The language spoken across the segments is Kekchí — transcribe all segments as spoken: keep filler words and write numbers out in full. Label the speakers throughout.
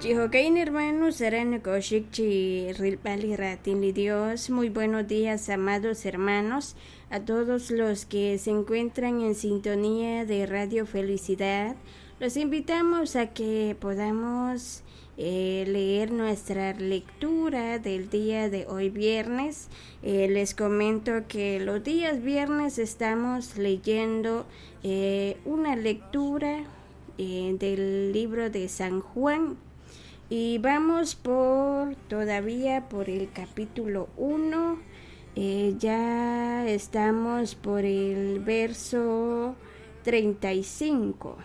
Speaker 1: Chijo'kan, hermanos, aran nokoxik chi rilb'al li raatin li Dios. Muy buenos días, amados hermanos, a todos los que se encuentran en sintonía de Radio Felicidad. Los invitamos a que podamos eh, leer nuestra lectura del día de hoy viernes. Eh, les comento que los días viernes estamos leyendo eh, una lectura eh, del libro de San Juan. Y vamos por todavía por el capítulo uno. Eh, ya estamos por el verso treinta y cinco.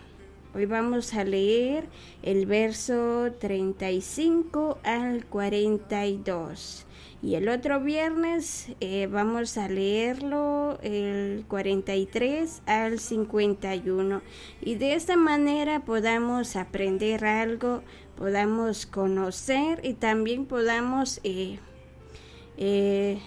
Speaker 1: Hoy vamos a leer el verso treinta y cinco al cuarenta y dos. Y el otro viernes eh, vamos a leerlo el cuarenta y tres al cincuenta y uno. Y de esta manera podamos aprender algo, podamos conocer y también podamos eh, eh,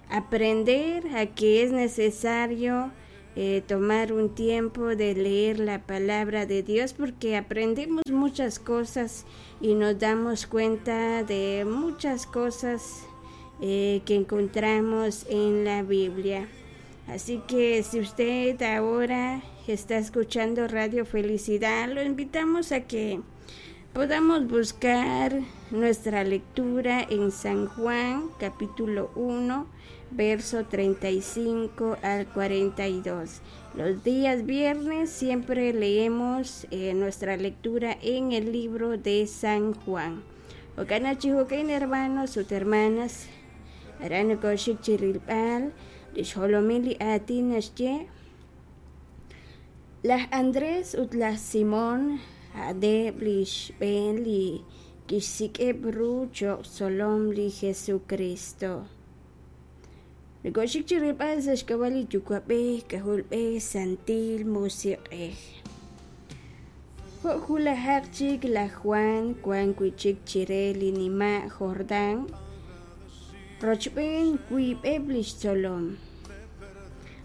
Speaker 1: aprender a que es necesario eh, tomar un tiempo de leer la palabra de Dios, porque aprendemos muchas cosas y nos damos cuenta de muchas cosas eh, que encontramos en la Biblia. Así que si usted ahora está escuchando Radio Felicidad, lo invitamos a que podamos buscar nuestra lectura en San Juan capítulo uno, verso treinta y cinco al cuarenta y dos. Los días viernes siempre leemos eh, nuestra lectura en el libro de San Juan. Jo'kan chi jo'kan, hermanos ut hermanas, aran nokoxik chi rilb'al lix jolomil li aatin naxye: Laj Andrés ut laj Simón a'aneb' li xb'een li kixsik'eb' ru cho'q tzolom li Jesucristo. Nokoxik chi rilb'al sa' xk'ab'a' li Yuwa'b'ej, K'ajolb'ej, Santil Musiq'ej. Jo' wulajaq chik laj Jwan wank wi' chik chire li nima' Jordán rochb'een wiib'eb' li xtzolom.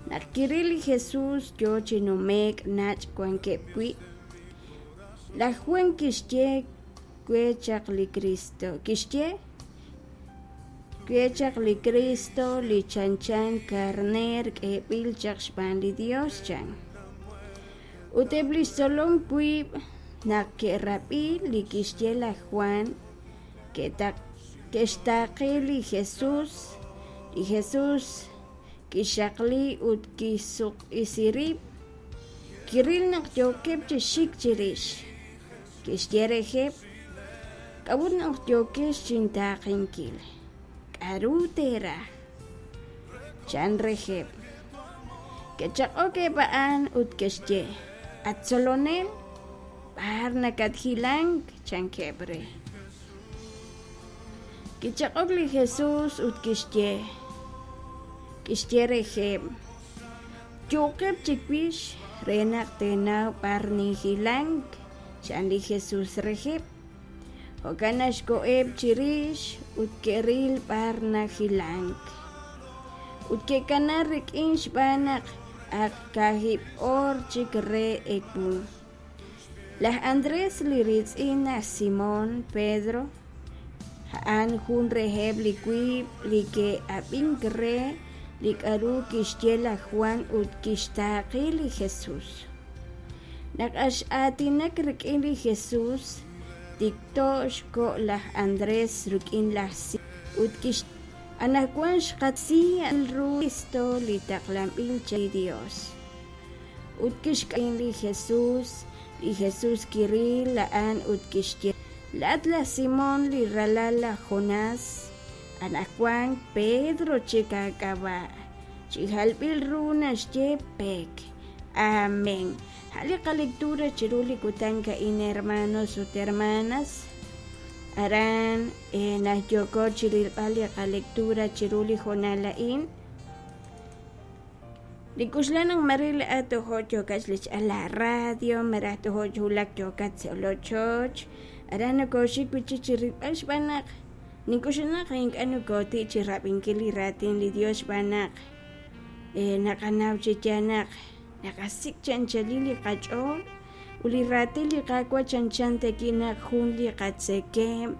Speaker 1: Naq kiril li Jesus yo chi nume'k nach' wankeb' wi', laj Jwan kixye: "We' chaq li Kristo." Kixye: "We' chaq li Kristo li chanchan karneer k'eeb'il chaq xb'aan li Yos", chan. Ut eb' li xtzolom wiib', naq ke'rab'i li kixye laj Jwan, ke'xtaaqe li Jesus. Li Jesus kixaqli ut kixsutq'isi rib', kiril naq yookeb' chi xik chirix. Kixye reheb': "K'a'ut naq yookex chintaaqenkil? K'aru teeraj?" chan reheb'. Ke'chaq'ok eb' a'an ut ke'xye: "At Tzolonel, b'ar nakathilank?" chankeb' re. Kichaq'ok li Jesus ut kixye kixye reheb': "Yo'qeb' chiwix re naq teenaw b'ar ninhilank", chan li Jesus reheb'. Jo'kan naq xkoheb' chirix ut ke'ril b'ar nahilank. Ut ke'kanaak rik'in xb'aan naq ak kaahib' oor chik re ewu. Laj Andrés, li riitz'in laj Simón Pedro, a'an jun reheb' li wiib' li ke'ab'ink re li k'aru kixye laj Jwan ut kixtaaqe li Jesus. Naq ak x'aatinak rik'in li Jesus, tikto xkoho laj Andrés rik'in laj Simón ut kixye: "Anaqwan xqataw ru Kristo li taqlanb'il chaq li Yos." Ut kixk'am li Jesus. Li Jesus kiril a'an ut kixye: "Laa'at laj Simón li ralal laj Jonás, anaqwan Pedro chik aak'ab'a'", chi jalb'il ru naxye pek. Amén. A' li qalectura chiru li kutan a'in, hermanos ut hermanas. Aran eh, naq yooko chi rilb'al li qalectura chiru li hoonal a'in, nink'oxla naq mare laa'at tojo' yookat xlech'al la radio, malaj tojo' wulak yookat sa' lochoch. Aran nokoxik wi' chik chi rilb'al xb'aan naq nink'oxla naq ink'a' nokoti' chi rab'inkil li raatin li Dios, xb'aan naq eh, naqanaw chi yaal naq naqasik' chi anchalil li qach'ool. Ut li raatin li Qaawa' chanchan tawi' naq jun li qatzekemq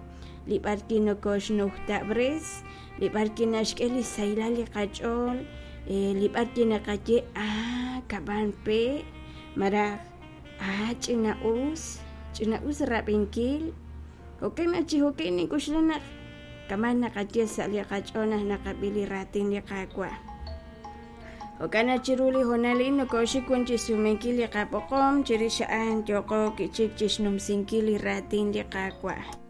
Speaker 1: li b'arwi' nokoxnujtab'res, li b'arwi' naxk'e li sahilal li qach'ool, li b'arwi' naqaye ah kab'an pe' malaj ah ch'ina'us, ch'ina'us rab'inkil. Jo'kan naq chi jo'kan nink'oxla naq kama' naqaye sa' li qach'ool naq naqab'i li raatin li Qaawa'. Jo'kan naq chiru li hoonal a'in nokoxik wan chixsumenkil li qab'oqom, chirix a'an yooqo chik chixnumsinkil li raatin li Qaawa'.